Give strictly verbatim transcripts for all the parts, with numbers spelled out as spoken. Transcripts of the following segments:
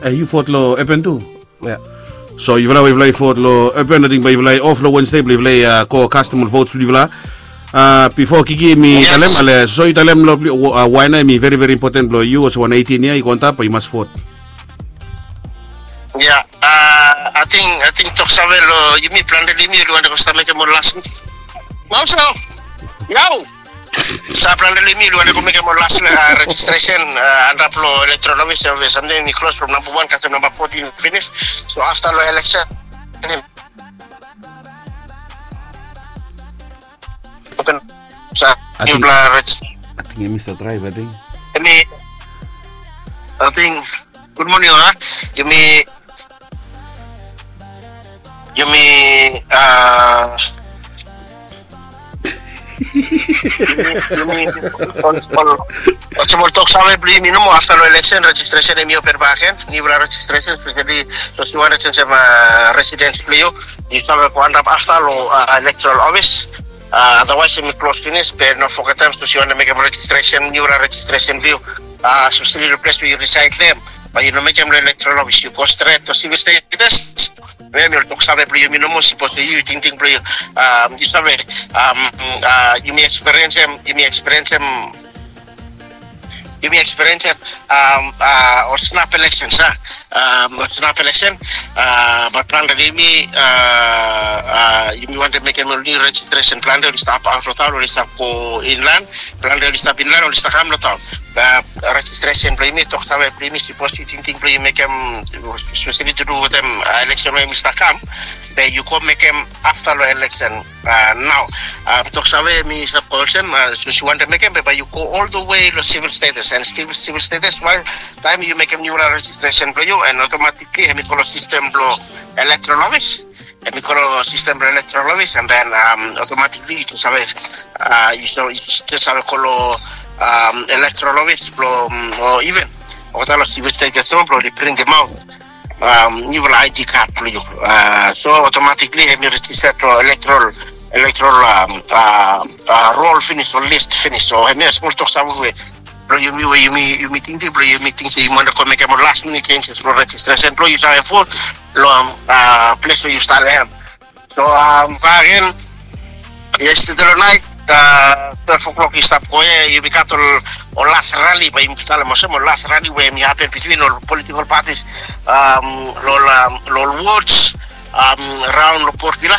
E, yu vot long Urban tu? Ya. So yufala we yufala i vot long Urban, ating bae yufala i of long Wednesday blong yufala i go kastom ol votes blong yufala. Bifo Kiki mi talem, ale so yu talem long wae nao hemi veri veri impoten blong yu olsem wan eighteen yia i go antap bae yu mas vot. Ya, ating ating toksave long yumi plante long yumi oli wantem go stap mekem ol las. Maus nao. Yau. Sa plante long yumi oli wantem go mekem ol las rejistresen antap long electoral office we samtaem i klos from namba wan kasem namba fotin finis. So afta long eleksen. Sa niu bla rejis. Ating hemi stap draev ating. Hemi ating. Gud moning a. Yumi yumi a yumi olsem ol toksave blong yumi nomo afta long eleksen rejistresen hemi open bakegen. Niufala rejistresen speseli sapos yu wantem olsem residens blong yu yu save go antap afta long electoral office. Adawaes hemi klos finis be no fogetem sapos yu wantem mekem rejistresen niufala rejistresen blong yu speseli long ples we yu risaed long hem. Bae yu no mekem long electoral office yu go stret long sivil status. Hemi ol toksave blong yumi nomo sapos yu tingting blong yu yu save yumi ekspiriensem yumi ekspiriensem yumi ekspiriensem ol snap eleksen sa ol snap eleksen. Bat plante long yumi yumi wantem mekem ol niu rejistresen plante oli stap aot long taon oli stap go inlan. Plante oli stap inlan oli stap kam long taon. Rejistresen blong yumi toksave blong yumi sapos yu tingting blong yu mekem speseli tu du wetem eleksen we hemi stap kam be yu go mekem afta long eleksen. Nao toksave mi stap go olsem sapos yu wantem mekem be bae yu go ol the way long sivil status and stil sivil status wael taem yu mekem niufala rejistresen blong yu and otomatikli hemi go long sistem blong electoral office. Hemi go long sistem blong electoral office and then otomatikli yu save yu save go long electoral office blong o iven olgeta long sivil status blong oli printim aot niufala id kad blong yu. So otomatikli hemi rejista long electoral electoral rol finis o list finis so hemi smol toksave we blong yumi we yumi yumi tingting blong yumi ting se yumi wantem go mekem ol las minit senses blong rejistresen blong yu save vot long ples we yu stap long hem. So bakegen yestede long naet twelve o'clock i stap go ia yumi gat ol ol las rali bae yumi talem olsem ol las rali we hemi hapen bitwin ol politikol patis long ol wods raon long Port Vila.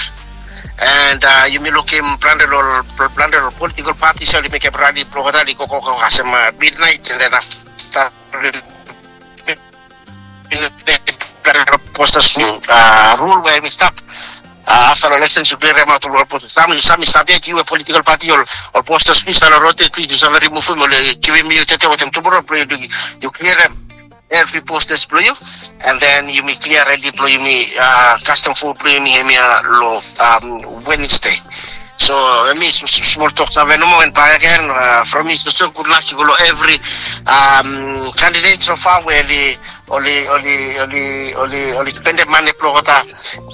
And yumi lukim plante long ol plante long ol politikol patis oli mekem rali blong olgeta oli gogo kasem midnaet and then afta postas rul we hemi stap afta long eleksen yu klirim aot ol postas sam yu sam i stap yet yu we politikol pati ol postas plis long rot ya plis yu save rimuvum oli givim yu tete wetem tumora blong yu klirim evri postas blong yu. And then yumi klia redi blong yumi kastom fo blong yumi hemia long Wednesday. So hemi smol tok save nomo and bakegen from mi soso gudlak i go long evri kandidet so far we oli oli oli oli oli oli spendem mane blong olgeta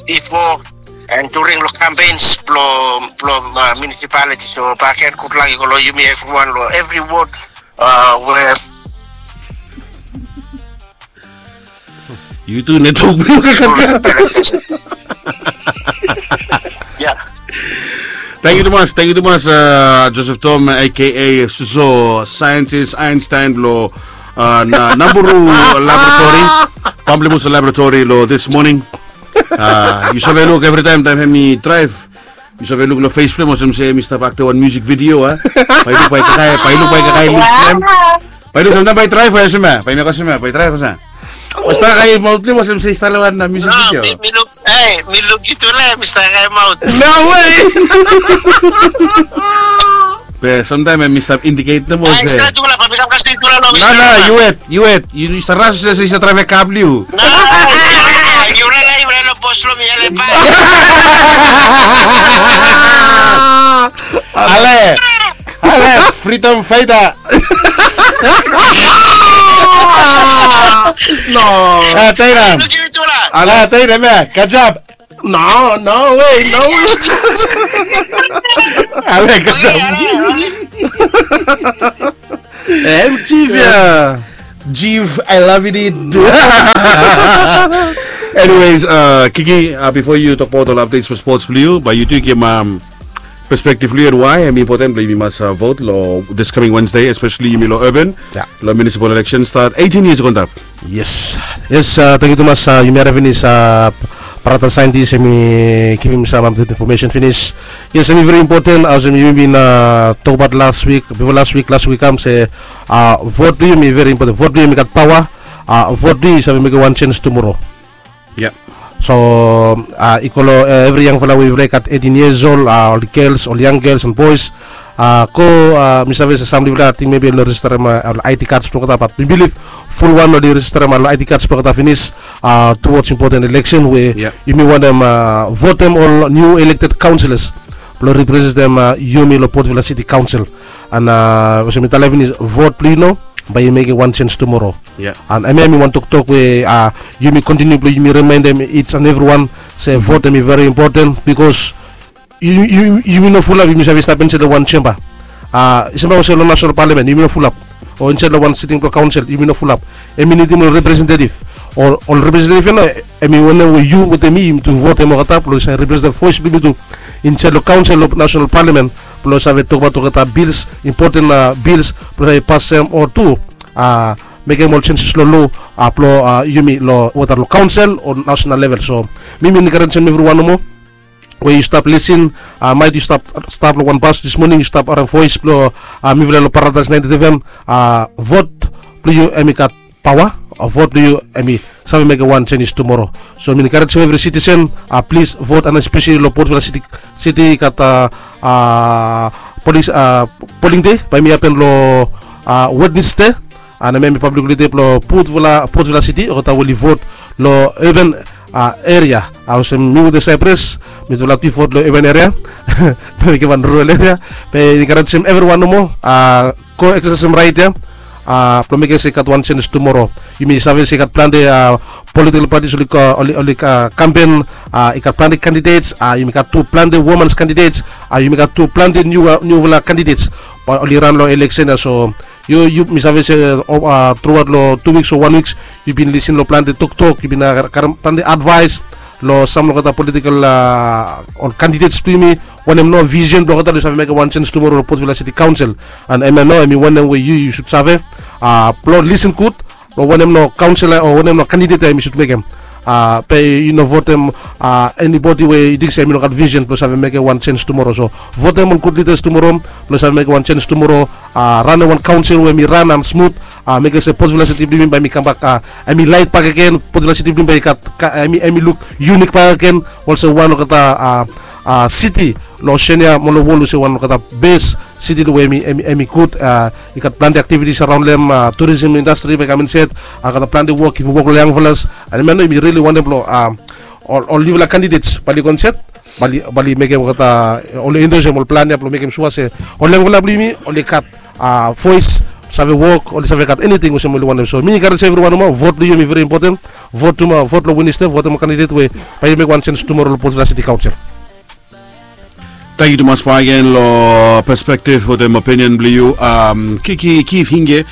bifo and during long kampeins blong blong munisipaliti. So bakegen gudlak i go long yumi evriwan long evri wod we Yu tu netwok blong yu. Tangkiu tumas, tangkiu tumas Joseph Tom aka Suso, saentis Einstein blong Namburu Laboratory. Pamplemousse Laboratory long this morning. Yu save luk evritaem taem hemi draev. Yu save luk long fes blong hem olsem se hemi stap aktem wan musik vidio a. Bae yu luk bae kakae, bae yu luk bae kakae luk blong hem. Bae yu luk samtaem bae i draev olsem ia, bae i mekem olsem ia, bae i draev olsem ia. Bae i stap kakae maot blong hem olsem se i stap long wan musik vidio. Mi luk, e mi luk yu tu le mi stap kakae maot. No way. Be samtaem hemi stap indiket nomo se. No no, yu wet. Yu wet, yu stap ras olsem se yu stap draev kar blong yu. Yu rala yu rala bos blong mi ale bae. Ale, ale freedom fighter. No. Teinem. Ale teinem ia, good job. No, no way, no way. Ale good job. Em chief ia. Jiv, I love it. Anyways, uh, Kiki, uh, bifo yu tokbaot ol updates for sports blong yu, bae yu tu givim, um, perspective blong yu and why hemi important blong yumi mas, uh, vote lo this coming Wednesday, especially yumi lo urban. Lo municipal election start eighteen years ago antap. Yes. Yes, uh, tangkiu tumas, uh, yumi harem finis, uh, brata saentis hemi givim sam update information finis. Yes, hemi very important, olsem yumi bin, uh, tokbaot last week, bifo last week, last week kam se, uh, vote blong yu hemi very important. Vote blong yu hemi gat paoa. Uh, vote blong yu i save mekem wan change tomorrow. So, uh, i go lo, uh, evri yangfala we i gat eighteen years old, uh, ol girls, ol young girls and boys. Uh, go, uh, mi save se sam long yufala ating maybe oli registerem, uh, ol I D cards blong olgeta, but mi bilif fulwan oli registerem, uh, ol I D cards blong olgeta finis, uh, towards important election we yumi wantem, uh, votem ol new elected councillors blong representem, uh, yumi lo Port Vila City Council. And, uh, olsem mi talem finis, vote blong yu nao bae yu mekem wan change tomorrow. And hemia hemi wan toktok we, uh, yumi kontiniu blong yumi rimaendem each and everyone se vote hemi very important, because yu, yu, yumi no fulap yumi save stap insaed lo wan chamber. Uh, i same olsem lo national parliament yumi no fulap, o insaed lo wan sitting blong council yumi no fulap. Hemi nidim ol representative, o ol representative ia nao hemi wanem we yu wetem mi yumi tu votem olgeta blong save representem voes blong yumi tu insaed lo council lo national parliament, blong save tokbaot olgeta bills, important, uh, bills blong save pasem o tu, uh, mekem ol changes lo loa, uh, blong, uh, yumi lo, whether lo council o national level. So mi mi encouragem evriwan nomo we yu stap lisin, uh, maet yu stap, stap lo wan bus this morning, yu stap harem voes blong, uh, mifala lo Paradise ninety-eight F M, uh, vote blong yu hemi gat paoa, uh, vote blong yu hemi save mekem wan changes tomorrow. So mi encouragem evri citizen, uh, please vote, and especially lo Port Vila City, city i gat, uh, uh, polling, uh, polling day bae hemi hapen lo, uh, Wednesday. And hemia hemi public holiday blong Port Vila, Port Vila City, olgeta we oli vote lo urban, uh, area. Uh, olsem mi wetem Cyprus, mitufala tu i vote lo urban area. Bae mekem wan rural area. Bae encouragem evriwan nomo, uh, go exercisem right ia, uh, blong mekem se i gat wan change tomorrow. Yumi save se i gat plante, uh, political parties oli, uh, oli, oli, uh, campaign, uh, i gat plante candidates, uh, yumi gat tu plante women's candidates, uh, yumi gat tu plante niu, uh, niufala candidates bae oli ran lo election ia. So yu, yu, mi save se, uh, throughout lo two weeks o one weeks yu bin lisin lo plante toktok, yu bin, uh, karem plante advice lo sam lo olgeta political, uh, ol candidates blong yumi, wanem nao vision blong olgeta blong save mekem wan change tomorrow lo Port Vila City Council. And hemia nao hemi wanem we yu, yu sud save, uh, blong lisin gud lo wanem nao council o wanem nao candidate ia hemi sud mekem. Uh, bae yu no votem, uh, anybody we yu ting se hemi no gat vision blong save mekem wan change tomorrow. So votem ol gud leaders tomorrow blong save mekem wan change tomorrow. Uh, ranem wan council we hemi ran and smooth, uh, mekem se Port Vila City blong yumi bae hemi kambak, uh, hemi laet bakegen, Port Vila City blong yumi bae i gat, ka-, hemi, hemi luk unique bakegen olsem wan lo olgeta, uh, uh, city lo Oceania mo lo wol, olsem wan lo olgeta best city lo we hemi, hemi, hemi gud, uh, i gat plante activities around long hem, uh, tourism industry bae i kam insaed, uh, olgeta plante wok, givim wok lo yangfalas. And hemia nao yumi really wantem blong, uh, ol, ol niufala candidates bae oli go insaed, bae oli, bae oli mekem olgeta, uh, oli endorseem ol plan ia blong mekem sua se ol yangfala blong yumi oli gat, uh, voes, save wok, oli save gat anything olsem oli wantem. So mi encourage evriwan nomo, vote blong yu hemi very important. Vote tomorrow, vote lo Wednesday, votem ol candidate we bae oli mekem wan change tomorrow lo Port Vila City Council. Tangkiu tumas bakegen lo perspective wetem opinion blong yu, um, Kiki Keith Hinge,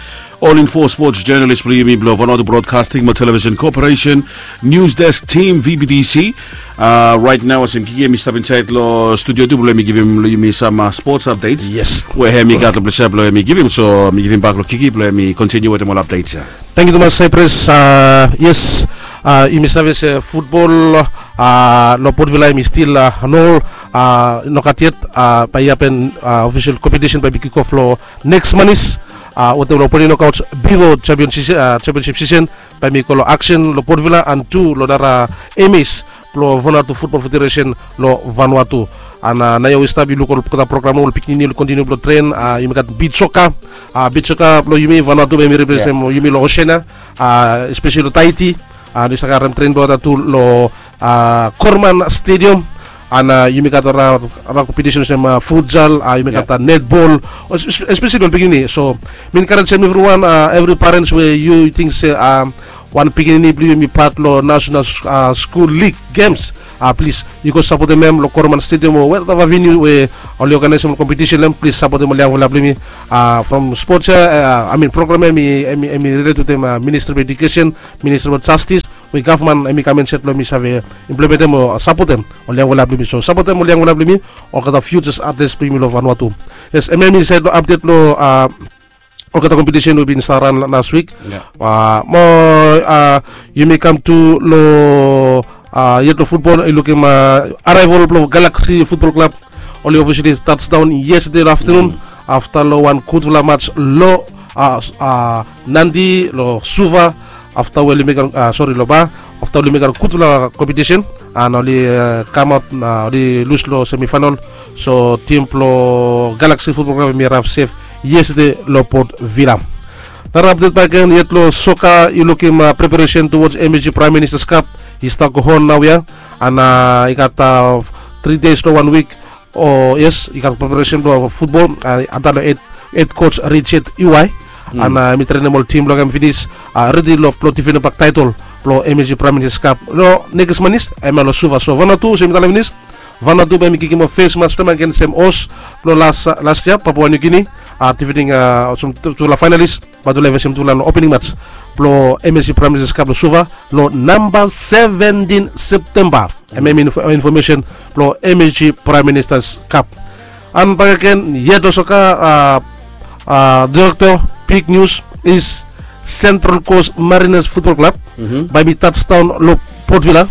All Info sports journalist blong yumi blong Vanuatu Broadcasting mo Television Corporation, News Desk Team, V B T C. Uh, right now olsem Kiki hemi stap insaed lo studio tu blong hemi givim lo yumi sam, uh, sports updates we hemi gat lo plesa blong hemi givim. So mi givim bak lo Kiki blong hemi continue wetem ol updates ia. Tangkiu tumas Cyprus. Uh, yes, uh, yumi save se futbol, uh, lo Port Vila hemi stil, uh, no, uh, no gat yet, uh, bae i hapen, uh, official competition bae i kick off lo next month, uh, wetem lo Port Vila Knockouts bifo championship, uh, championship season bae hemi go lo action lo Port Vila and tu lo nara M As blo Vanuatu Football Federation lo Vanuatu. And, uh, naoia we i stap yu luk olgeta program, ol pikinini oli kontiniu blo tren, uh, yumi gat beach soccer, uh, beach soccer blo yumi Vanuatu bae yumi representem yumi lo Oceania, uh, especially lo Tahiti, uh, oli stap harem tren blo olgeta tu lo, uh, Corman Stadium. An yumi gat ol kompetisen olsem futsal, yumi gat netbol, espeseli ol pikinini. So mi enkarejem evriwan, evri parens we yu ting se wan pikinini blong yu i pat long nasenal skul lig gems, plis yu go sapotem hem long Koroman Stadium o whatever venue we oli oganaesem ol kompetisen long hem. Plis sapotem ol yangfala blong yumi from spots ya. I mean, program ya hemi relate wetem Ministry of Education, Ministry of Justice, we gavman hemi kam insaed blong hemi save implementem o sapotem ol yangfala blong yumi. So sapotem ol yangfala blong yumi, olgeta futures athletes blong yumi long Vanuatu. Yes, hemia hemi saed long update long olgeta kompetisen we bin stap ran las wik. Mo yumi kam tu long yet long futbol, yu lukim arrival blong Galaxy Futbol Klab. Oli officially touchdown yestade long aftanun afta long wan gudfala mats long Nadi, long Suva, afta we oli mekem, sori, long Ba, afta oli mekem gudfala kompetisen an oli kamaot, oli lus long semifainal. So tim blong Galaxy Futbol Klab hemi raev sef yestade long Port Vila. Nara apdet bakegen yet long soka, yu lukim preparesen towards M A G Prime Minister's Cup i stap go on naoia. An i gat tri days long wan wik. O yes, i gat preparesen blong futbol antap long hed coach Richard Iwai. An hemi trenem ol tim blong hem finis, redi long difendem bak taetol blong M A G Prime Minister's Cup long nekis manis, hemia long Suva. So Vanuatu olsem mi talem finis, Vanuatu bae hemi kikim ol fes mats blong hem agensem Oz long las yia, Papua New Guinea, difending olsem tufala fainalis. Bae tufala i fesem tufala long opening mats blong M A G Prime Minister's Cup long Suva long namba seventin Septemba. Hemia hemi infomesen blong M A G Prime Minister's Cup. An bakegen yet long soka, direkto, big news is Central Coast Mariners Futbol Klab bae hemi touchdown long Port Vila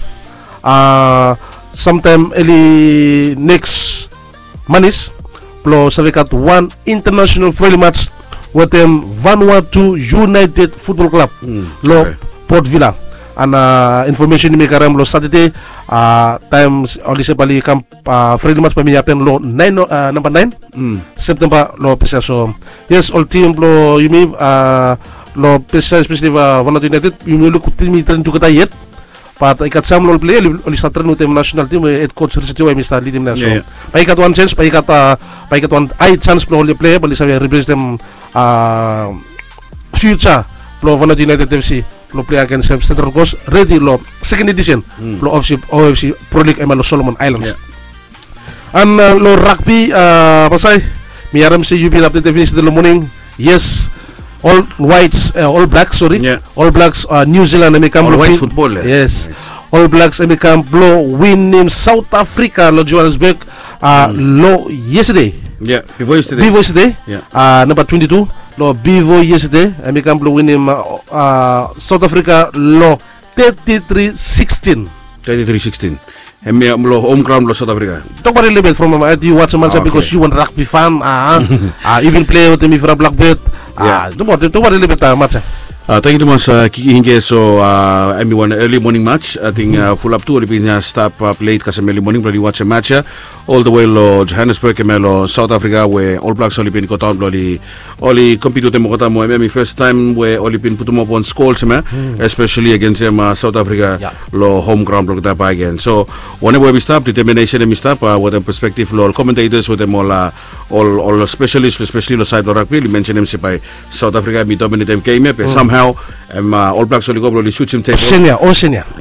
samtaem eli neks manis blong save gat wan international friendly mats wetem Vanuatu United Futbol Klab long Port Vila. An infomesen yumi karem long Satade, taem oli se bae oli kam, friendly mats bae hemi hapen long naen, namba naen Septemba long ples ya. So yes, ol tim blong yumi long ples ya, espeseli Vanuatu United, yumi luk tim i trenem tugeta yet. Bat i gat sam long ol plea oli stap trenem wetem nasenal tim we hed coach Richard Iwai hemi stap lidim nao. So bae i gat wan janis, bae i gat wan hae janis blong ol plea bae oli save representem fiuja blong Vanuatu United F C blong plea agensem Central Coast, redi long seken edisen blong O F C Pro League hemia long Solomon Islands. An long ragbi, Pasai, mi harem se yu bin apdetem finis tede long moning. Yes, All Whites, All Blacks, sori, All Blacks New Zealand hemi kam blong, yes, All Blacks hemi kam blong winim South Africa long Johannesburg long yestade. Bifo yestade, namba twenti tu, long bifo yestade hemi kam blong winim South Africa long teti tri sikstin. Teti tri sikstin. Hemia long hom graon blong South Africa. Tokbaot lelebet from, yu wajem macha bikos yu wan ragbi fan. Yu bin plea wetem mifala Blackbird. Tokbaot lelebet macha. Tangkiu tumas Kiki Hinge. So hemi wan early morning match. Ating fulap tu oli bin stap plea kasem early morning blong oli wajem match ya. Ol the way long Johannesburg hemia long South Africa we All Blacks oli bin godaon blong oli oli compete wetem olgeta mo hemia hemi fes taem we oli bin putum ap wan skul olsem ya, espeseli agensem South Africa long hom graon blong olgeta bakegen. So wanem we hemi stap, determination hemi stap wetem perspektif blong ol commentators wetem ol ol spesalis espeseli long saed blong ragbi oli mensenem se bae South Africa hemi dominatem gem ya be somehow hem All Blacks oli go blong oli swijem tebol.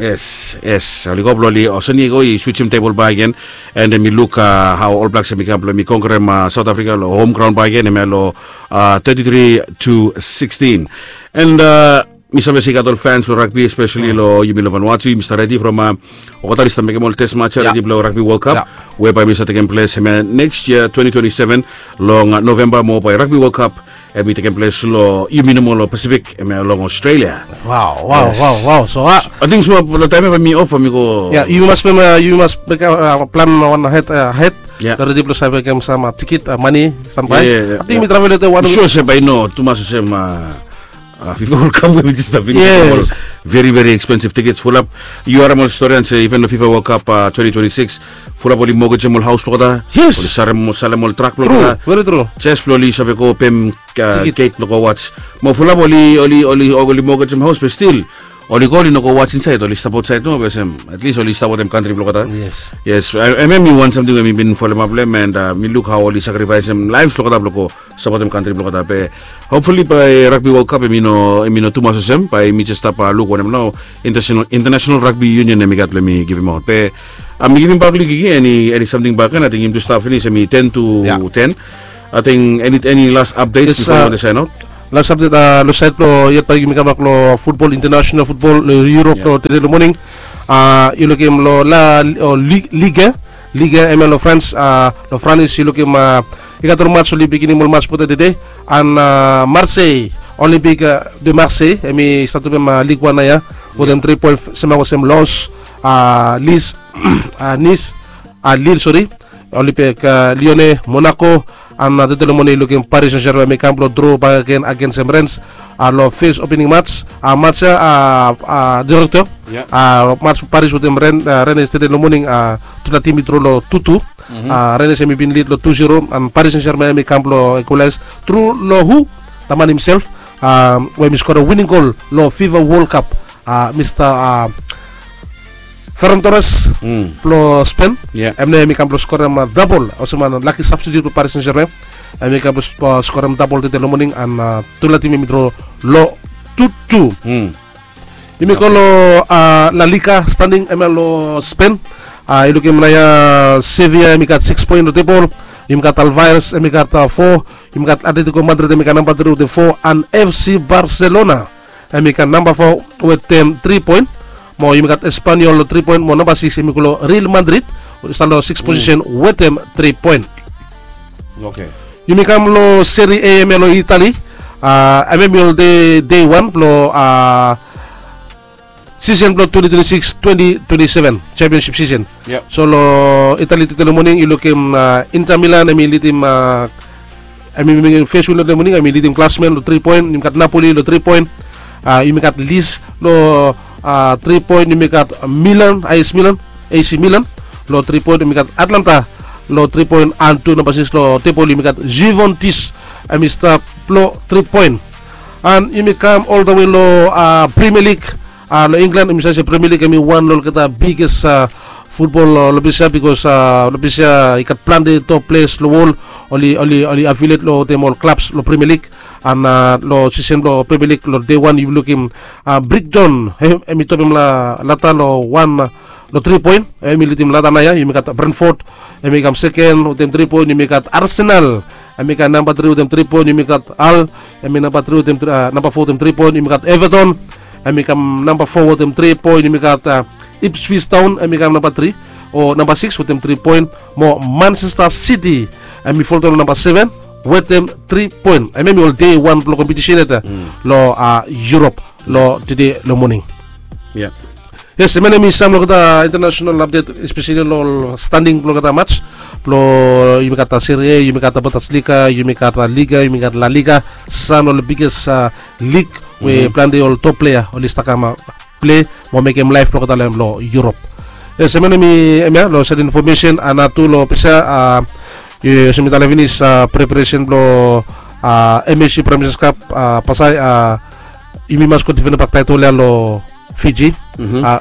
Yes, yes, oli go blong oli, Oceania i go i swijem tebol bakegen. And hemi luk hao All Blacks hemi kam blong hemi konkerem South Africa long hom graon bakegen hemia long teti tri tu sikstin. And mi save se i gat ol fans blong ragbi espeseli long yumi long Vanuatu, yumi stap redi from olgeta oli stap mekem ol test match ya redi blong Ragbi World Cup we bae hemi stap tekem ples hemia neks yia twenti twenti seven long Novemba mo bae Ragbi World Cup hemi tekem ples long yumi nomo long Pasifik hemia long Australia. Wow, wow, wow. So ating smol long taem ya bae mi of bae mi go. Ya, yu mas mekem, yu mas mekem plan wan ahed, ahed. Redi blong save mekem sam tikit, mane stap bae. Ating mi travel wetem wan. Sua se bae i no tumas olsem FIFA World Cup we hemi jes stap finis. Very very expensive tickets fulap. Yu harem ol storian se even long FIFA World Cup twenti twenti sikis fulap oli mogejem ol haos blong olgeta. Oli salem ol trak blong olgeta. Veri tru. Jes blong oli save go pem gate blong go watch. Mo fulap oli oli oli oli mogejem haos be stil Oli go, oli no go was insaed, oli stap aotsaed nomo, be olsem at least oli stap wetem kantri blong olgeta. Yes. Yes, em em i wan samting we mi bin folem ap long em, and mi luk hao oli sakrifaesem laef blong olgeta blong go sapotem kantri blong olgeta. Be hopefully bae Rugby World Cup em i no, em i no tumas olsem, bae mi jes stap luk wanem nao International, International Rugby Union em i gat blong em i givimaot. Be mi givim bak long Kiki eni, eni samting bakegen. Ating yumi tu stap finis, em i ten to ten. Ating eni, eni las apdets bifo yumi saen aot? Las apdet, long saed blong yet bae yumi kambak long futbol, international futbol long Europe long tede long moning. Yu lukim long La Liga, Liga em ya long Frans, long Frans yu lukim i gat ol mats, oli biginim ol mats blong tede. And Marseille, Olympique de Marseille, em i stap tupem Ligue one nao ya wetem tri poen, sem olsem Lens, Nice, Nice, Lille, sori, Olympique Lyonnais, Monaco. And tede long moning yu lukim Paris Saint-Germain em i kam blong dro bakegen agens Rennes long fes opening mats. Mats ya, direkto, mats Paris wetem Rennes tede long moning, tufala tim i dro long tu tu. Rennes em i bin lid long tu zero, and Paris Saint-Germain em i kam blong ekwalaes tru long hu, the man himself we em i skorem wining gol long FIFA World Cup, Mista Ferran Torres blong Spen. Em nao em i kam blong skorem dabol olsem wan laki substitute blong Paris Saint-Germain. Em i kam blong skorem dabol tede long moning, and tufala tim em i dro long tu tu. Yumi go long La Liga standing em ya long Spen. Yu lukim nao ya, Sevilla em i gat sikis poen long tebol. Yumi gat Alaves em i gat fo. Yumi gat Atletico Madrid em i gat namba tri wetem fo, and FC Barcelona em i gat namba fo wetem tri poen. Mo yumi gat Espanyol long tri poen, mo namba sikis em i go long Real Madrid, stap long sikis posisen wetem tri poen. Yumi kam long Serie A em ya long Italy. Em em i olde dei wan blong sisen blong twenti twenti sikis twenti twenti seven, championship sisen. So long Italy tede long moning yu lukim Inter Milan em i lidim, em i fes win long tede long moning, em i lidim Glasman long tri poen. Yumi gat Napoli long tri poen. Yumi gat Lis long tri poen. Yumi gat Milan, A S Milan, A C Milan long tri poen. Yumi gat Atlanta long tri poen, and tu namba sikis long tebol yumi gat Juventus, em i stap long tri poen. And yumi kam oldawe long Premier League long England. Yumi save se Premier League em i wan long olgeta biges futbol long ples ya, bikos long ples ya i gat plante top ples long wol, oli, oli, oli affiliate long wetem ol klabs long Premier League. And long sisen blong Premier League long dei wan yu lukim Brighton, em i topem Leicester long wan long tri poen, em i lidim Leicester nao ya. Yumi gat Brentford, em i kam seken wetem tri poen. Yumi gat Arsenal, em i kam namba tri wetem tri poen. Yumi gat Hull, em i namba tri wetem, namba fo wetem tri poen. Yumi gat Everton, em i kam namba fo wetem tri poen. Yumi gat Ipswich Town, em i kam namba tri o namba sikis wetem tri poen. Mo Manchester City, em i foldaon long namba seven wetem tri poen. Em em i ol dei wan blong kompetisen ya long Europe long tede long moning. Yes, em ya nao em i sam long olgeta international apdet, espeseli long ol standing blong olgeta mats. Blong yumi gat Serie A, yumi gat Bundesliga, yumi gat Liga, yumi gat La Liga, sam long ol biges lig we plante ol top plea oli stap kam plei mo mekem laef blong olgeta long Europe. Yes, em ya nao em i, em ya long saed infomesen. And tu long ples ya, olsem mi talem finis, preparesen blong M S C Prime Ministers Cup, Pasai, yumi mas go difendem bak taetol ya long Fiji.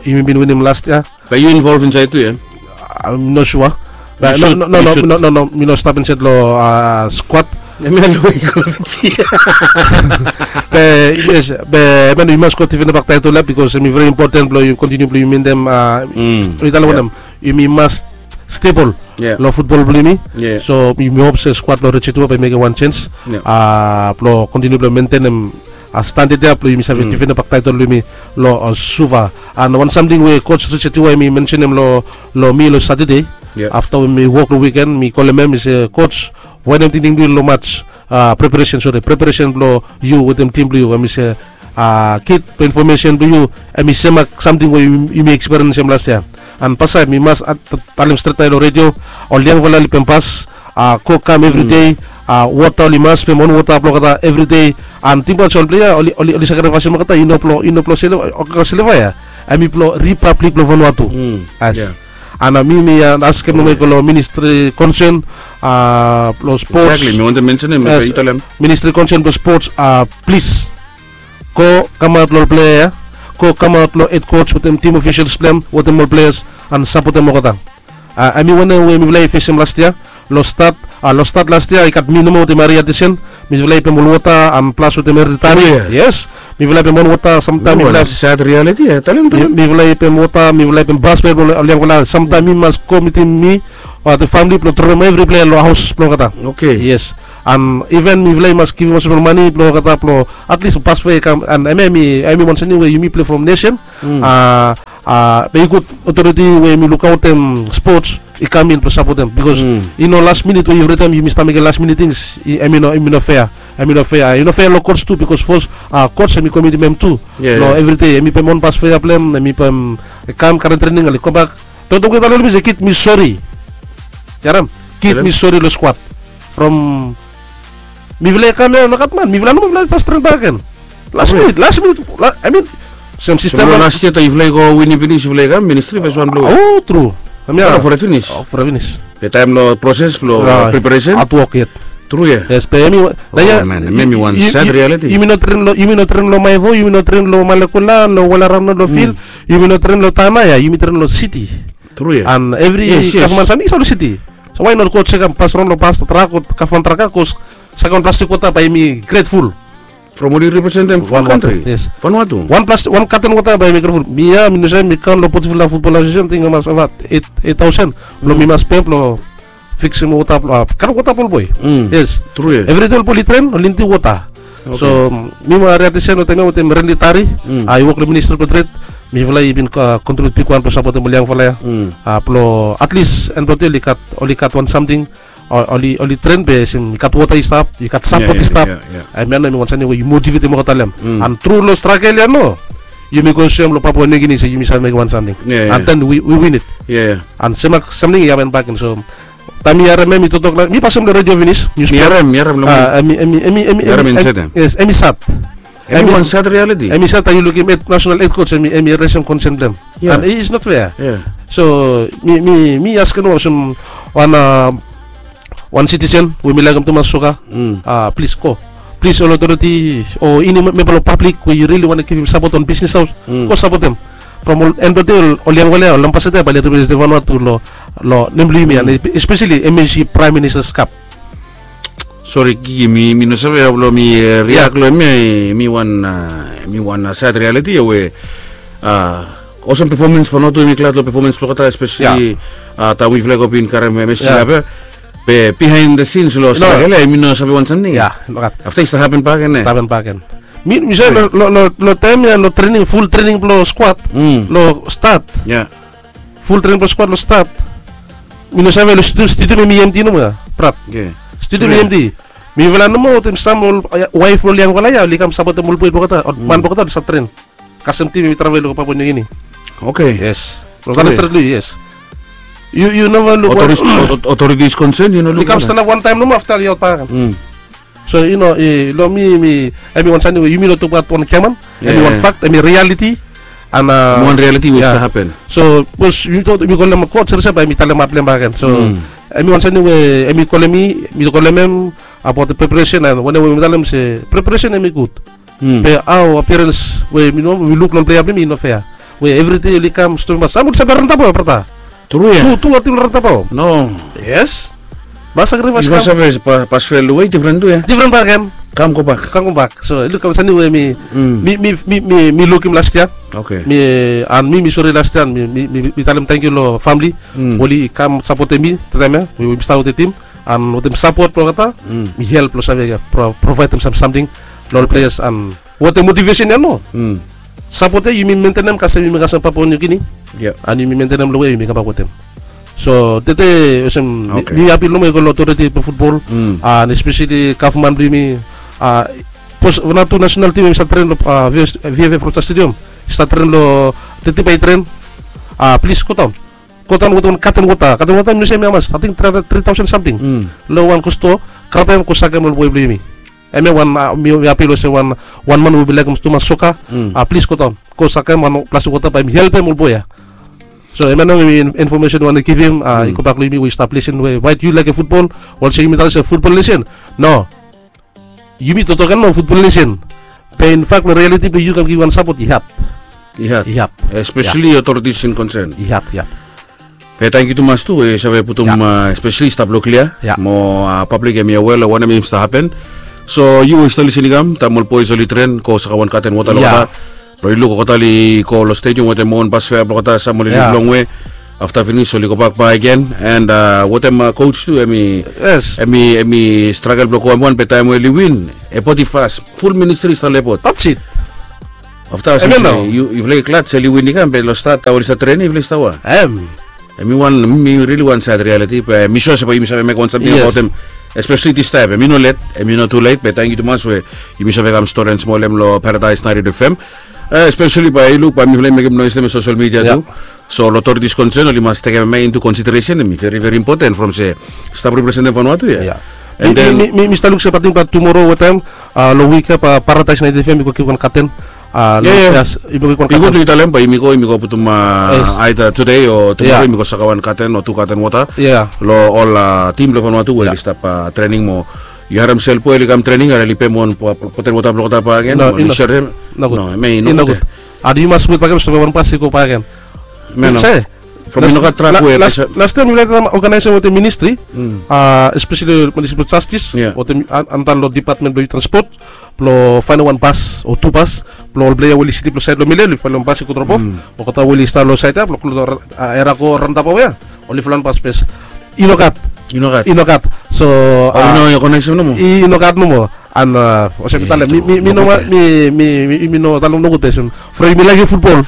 Yumi bin winim las yia. Be yu involv insaed tu ya? Mi no sua. Be no, no, no, mi no stap insaed long skuad. Be yes, be, be yu mas go difendem bak taetol ya, bikos em i veri impoten blong yu kontiniu blong yu mentem, yu talem wanem, yumi mas stebol long futbol blong yumi. So yumi hop se skuad blong Richie Tua bae mekem wan jens blong kontiniu blong mentenem standad ya blong yumi save difendem bak taetol blong yumi long Suva. And wan samting we coach Richie Tua em i mensenem long mi long Satade, afta we mi wok long wiken, mi kolem hem, mi se, "Coach, wanem tingting blong yu long mats, preparesen, sori, preparesen blong yu wetem tim blong yu?" Hem i se, "Kid, infomesen blong yu hem i semak samting we yumi ekspiriensem las yia." And Pasai, mi mas talem stret nao long redio, ol yangfala oli pem pas, go kam evri dei, wota oli mas pem on wota blong olgeta evri dei. And tingbaot se ol plea ya oli, oli sakrifaesem olgeta i no blong, i no blong Sileva ya, hem i blong Ripablik blong Vanuatu. Yes. And mi, mi askem nomo i go long ministri konsen blong spots. Ministri konsen blong spots, plis, go kamaot long ol plea ya, go kamaot long hed coach wetem tim ofisels blong hem wetem ol pleas an sapotem olgeta. Hemi wanem we mifala i fesem las yia. Long stat, long stat las yia i gat mi nomo wetem Maria Tisen. Mifala i pem ol wota an plas wetem Eritari. Yes. Mifala i pem wan wota samtaem mifala i pem wota, mifala i pem pasfea blong ol yangfala samtaem mi mas go mitim mi o the famili blong dromem evri plea long haos blong olgeta. Yes. An iven mifala i mas givim olsem ol mane blong olgeta blong at least pasfea i kam an hemia hemi wan samting we yumi plei from nesen. Be i gud otoriti we yumi lukaotem spots i kam in blong sapotem bikos i no las minit we evritaem yumi stap mekem las minit tings. Hemi no fea. Hemi no fea, i no fea long coach tu bikos fos coach hemi komitim hem tu. Long evridei hemi pem on pasfea blong hem, hemi pem kam karem trening oli kambak. Toktok we i talem long mi se kid mi sori. Yaram. Kid mi sori long skwat. From mifala i kam ya nogat man, mifala nomo mifala jas tren bak gen. Las minit, las minit. I mean, sem sistem long las yia taem yufala i go winim finis yufala i kam ministri fes wan blong we. O tru. Hemia fore finis. Fore finis. Be taem long proses blong preparesen. Hatwok yet. Tru ya. Yes be hemi wan sad realiti. Yumi no tren long, yumi no tren long Maevo, yumi no tren long Malekula, long Walarano, long fil. Yumi no tren long Tana ya, yumi tren long siti. Tru ya. An evri gavman samting i stap long siti. So wai not go sekem pas raon long pas trak o gavman trak ya bikos sekem plastik wota bae yumi gretful. From oli representem wan kantri. Yes. Vanuatu. Wan plas wan katen wota bae yumi gretful. Mi ya mi no save mi kam long Potifula Futbol Asosiesen ting i mas ova eit taosen blong mi mas pem blong fiksim wota blong a katen wota blong ol boe. Yes. Tru ya. Evridei ol boe oli tren oli nidim wota. So mi mo Aria Tisen wetem ya wetem Renli Tari, a i wok long ministri blong tred. Mifala i bin kontribut bigwan blong sapotem ol yangfala ya. A blong atlis en blong de oli gat, oli gat wan samting. Oli, oli tren be olsem i gat wota i stap, i gat sapot i stap. Hemia nao hemi wan samting we i motivetem olgeta long hem. An tru long stragel ya nao yumi go soem long Papua Niugini se yumi save mekem wan samting. An den wi win it. An sem samting i hapen bakegen. So taem mi harem hem i toktok long mi pasem long redio finis. Mi harem, mi harem long mi. Hemi, hemi, hemi, hemi, hemi sad. Hemi wan sad realiti. Hemi sad taem yu lukim hed, nasenal hed coach hemi, hemi resem konsen blong hem. An i is not fea. So mi, mi, mi askem olsem wan, a wan sitisen we mi laekem tumas soka. Plis go. Plis ol otoriti o eni memba long pablik we yu rili wantem givim sapot on bisnis haos, go sapotem. From ol en blong de ol yangfala ya ol ambasada ya bae oli representem Vanuatu long, long nem blong yumi an espeseli MAC Praem Ministas Kap. Sori Kiki, mi, mi no save hao blong mi riak long hemia. Hemi wan, hemi wan sad realiti ya we olsem pefomens Vanuatu hemi glad long pefomens blong olgeta espeseli taem we yufala i go bin karem MAC Kap ya. Be bihaen the scenes long stragel ya hemi no save wan samting. Afta i stap hapen bakegen. Stap hapen bakegen. Mi, mi save long, long, long taem ya long trening, ful trening blong skwat long stat. Ful trening blong skwat long stat. Mi no save long stadium, stadium hemi emti nomo ya, brat. Stadium hemi emti. Mifala nomo wetem sam ol waef blong ol yangfala ya oli kam sapotem ol boe blong olgeta, ol man blong olgeta oli stap tren. Kasem tim hemi travel i go Papua Niugini. Oke. Yes. Long Tana Stret, yes. Yu, yu neva luk wan otoritis konsen, yu no luk. I kam stanap wan taem nomo afta i aot bakegen. So yu no, long mi, mi, hemi wan samting we yumi no tokbaot wan giaman. Hemi wan fakt, hemi realiti. An wan realiti we i stap hapen. So sapos yumi tok, yumi kolem kot, sere sere bae yumi talemaot long hem bakegen. So hemi wan samting we hemi kolem mi, mi kolem hem abaot preparesen an wanem we mi talem se preparesen hemi gud. Be hao appearance we mi no, we luk long plea blong yumi i no fea. We evridei oli kam stopim, sam oli save rantap hao, brata. Tru ya. Tu, tu ol tim rantap hao. No. Yes. Mas sakrifaes kam. Bikos of pasfel we i difren tu ya. Difren bakegen. Kam gobak. Kam gobak. So i luk kam samting we mi, mi, mi, mi, mi lukim las yia. Oke. Mi, an mi, mi sori las yia an mi, mi, mi talem tangkiu long famili. Oli kam sapotem mi taem ya we mi stap wetem tim. An wetem sapot blong olgeta mi help long save provaedem sam samting long ol pleas an wetem motivesen ya nao. Sapot ya yumi mentenem kasem yumi kasem Papua Niugini. An yumi mentenem long we yumi kambak wetem. So tede olsem mi apil nomo i go long otoriti blong futbol an espeseli gavman blong yumi. Bikos Vanuatu nasenal tim hemi stap tren long VFF Rochester Stadium, i stap tren long teti bae i tren. Plis godaon. Godaon wetem wan katen wota. Katen wota mi no save hemi hamas, ating tri taosen samting. Long wan go stoa, grabem, go sakem ol boe blong yumi. Hemia wan, mi apil olsem wan, wan man we mi laekem tumas soka. Plis godaon, go sakem wan plastik wota bae mi helpem ol boe ya. So hemia nao hemi infomesen we mi wantem givim. I gobak long yumi we yu stap lisin we waet yu laekem futbol. Olsem yumi talem se futbol nesen. No. Yumi toktok ya nao futbol nesen. Be in fak long rialiti blong yu kam givim wan sapot i had. I hat. Especially authorities in concern. I hat, i hat. Be tangkiu tumas tu we yu save putum, especially stap long klia mo public hemi aware long wanem hemi stap hapen. So yu we yu stap lisin i kam, taem ol boys oli tren go saka wan katen wota long olgeta, long yu luk olgeta oli go long stadium wetem wan bas fea blong olgeta, sam oli lif longwe. Afta finis oli gobak bak agen, and wetem coach tu, hemi, hemi stragel blong go hemi wan, be taem we oli win, epot i fas, ful ministri i stap long epot. Afta yufala i glad se oli win i kam, be long stat taem oli stap trening yufala i stap wa? Hemi wan, mi rili wan sad realiti, be mi sua se bae yumi save mekem wan samting abaotem. Especially distaem hemi no let, hemi no tulet, be tangkiu tumas we yumi save kam stori and smolem long Paradise naentin F M. Especially bae yu luk bae mifala i mekem noes long social media tu. So long authorities concern oli mas tekem hemia into consideration, hemi very very important from se stap representem Vanuatu ya. And then mi stap luk se bae ating bae tumoro wetem long wik ya bae Paradise naentin F M i go givim wan katen. Long, yes, i go givim wan katen. I go talem bae yumi go, yumi go putum aida tudei o tumoro yumi go saka wan katen o tu katen wota long ol tim blong Vanuatu we oli stap trening mo. Yu harem Selboe oli kam trening, are oli pem wan botel wota blong olgeta bak agen. No, i no gud. Hemia i no gud. And yu mas wet bak agen, stap wan bas i go bak agen. From i no gat trak we. Lastaem yufala i stap oganaesem wetem ministri, especially municipal justice wetem, antap long department blong youth and sport, blong faenem wan bas o tu bas blong ol plea we oli slip long saed long Mile, oli faenem wan bas i go drop off. Olgeta we oli stap long saed ya blong klot long era go raontabaot ya, oli faenem wan bas, be i no gat. I no gat. So i no gat nomo. And olsem mi talem, mi, mi, mi no, mi, mi, mi, mi no talem nogud, be olsem from yumi laekem futbol,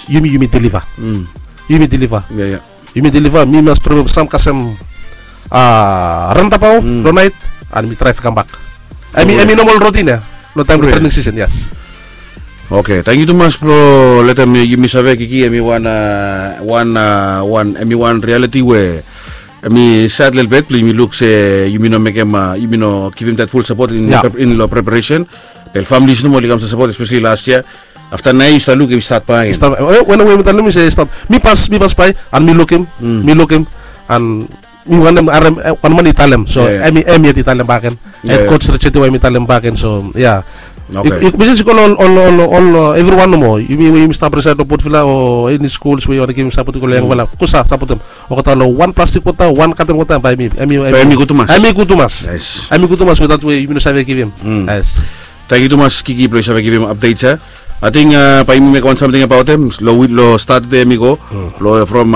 yumi, yumi deliva. Yumi deliva. Yumi deliva. Mi mas drop off sam kasem raontabaot long naet, and mi draev kambak. Hemi, hemi normal rotin ya long taem blong trening sisen, yes. Oke, tangkiu tumas blong letem yumi save, Kiki, hemi wan, wan, wan, hemi wan realiti we hemi sad lelebet blong yumi luk se yumi no mekem, yumi no givim that full support in long preparation. Be ol families nomo oli kam stap sapot, especially last year. Afta naoia yu stap luk hemi stat bak agen. Wanem we mi talem, mi se stat, mi pas, mi pasbae and mi lukim, mi lukim, and mi wantem harem wan man i talem. So hemi, hemi yet i talem bak agen. Head coach Richard Tiwa hemi talem bak agen. So ya, mi se i go long ol, ol, ol, evriwan nomo, yumi we yumi stap resaed long Port Vila o eni skuls we yu wantem givim sapot i go long yangfala, go sa sapotem olgeta long wan plastik wota, wan katen wota, bae hemi, hemi, hemi gud tumas. Hemi gud tumas. Hemi gud tumas wetem that we yumi no save givim. Yes. Tangkiu tumas, Kiki, blong yu save givim updates ya. Ating bae yumi mekem wan samting abaotem long wik, long Satade hemi go. Long from,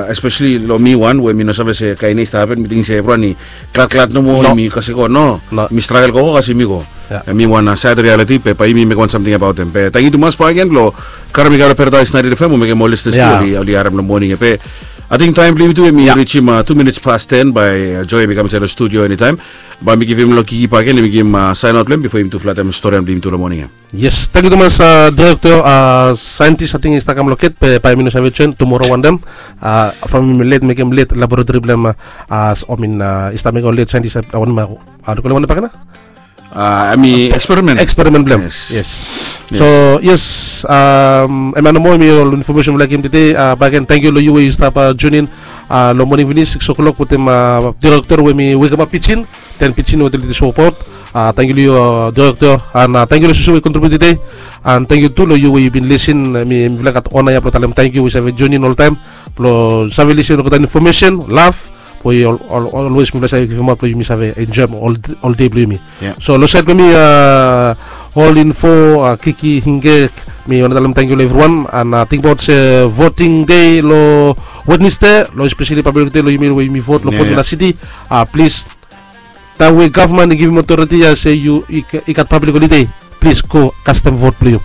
especially long mi wan we mi no save se kaen nao i stap hapen, mi ting se evriwan i gladglad nomo, yumi kasem go, no. Mi stragel gogo kasem yumi go. Hemi wan sad realiti, be bae yumi mekem wan samting abaotem. Be tangkiu tumas bak agen blong karem mi kam long Paradise naentin F M o mekem ol listeners tu oli harem long moning ya. Be ating taem blong yumi tu hemi rijim tu minits pas ten, bae Joe hemi kam insaed long studio enitaem. Bae mi givim long Kiki bak agen, hemi givim saen aot blong hem bifo yumi tu flatem storian blong yumi tu long moning ya. Yes, tangkiu tumas, direkta, saentis, ating i stap kam long get, be bae mi no save joen, tumoro wantem. From yumi let mekem let laboratori blong hem, I mean, i stap mekem ol let saentis, wantem, hao do kolem wantem bak agen? Hemi eksperimen. Eksperimen blong hem. Yes. So yes, hemia nomo hemi ol infomesen we mi laek givim tede. Bak agen, tangkiu long yu we yu stap joenem long moning finis sikis o'clock wetem direkta we hemi wekemap pijin, ten pijin we oli stap sapot. Tangkiu long yu direkta, and tangkiu long yu we yu kontribiut tede. And tangkiu tu long yu we yu bin lisin. Mifala i gat ona ya blong talem tangkiu, we yu save joenem oltaem blong save lisin long olgeta infomesen, laf, we ol, olwes mifala i save givimaot blong yumi save enjoem ol dei blong yumi. So long saed blong mi, ol info, Kiki, Hinge, mi wantem talem tangkiu long evriwan, and tingbaot se voting dei long Wednesday, long especially public dei long yumi we yumi vot long Port Vila City. Plis, taem we gavman i givim otoriti ya se yu, i gat public holiday, plis go kastem vot blong yu.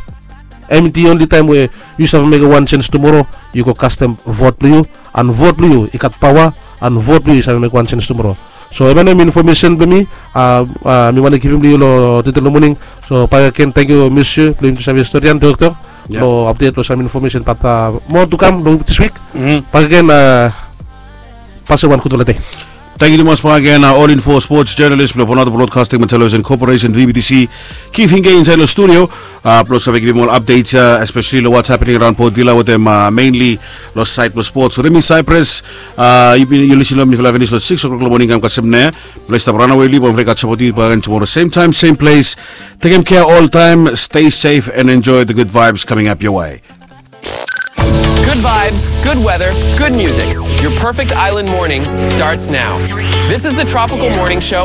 Hemi the only taem we yu save mekem wan janis tumoro, yu go kastem vot blong yu, and vot blong yu i gat paoa, and vot blong yu i save mekem wan janis tumoro. So hemia nao hemi infomesen blong mi, mi wantem givim long yu long tede long moning. So bak agen, tangkiu, Mesyu, blong yumi tu save storian, direkta, long apdet long sam infomesen, bat moa tu kam long dis wik. Bak agen, pasem wan gudfala dei. Tangkiu tumas bak agen, All Info sports journalist blong Vanuatu Broadcasting and Television Corporation, V B T C, Keith Hinge insaed long studio blong save givim ol updates ya, especially long what's happening around Port Vila wetem, mainly long saed blong sports. Wetem mi Cyprus, yu bin, yu lisin long mifala finis long six o'clock long moning, kam kasem nao ya. Blong yu stap ranawe, long yu, bae mifala i gat sapot yu bak agen tumoro, same time, same place. Tekem kea oltaem, stay safe and enjoy the good vibes coming up your way. Good vibes, good weather, good music. Your perfect island morning starts now. This is the Tropical Morning Show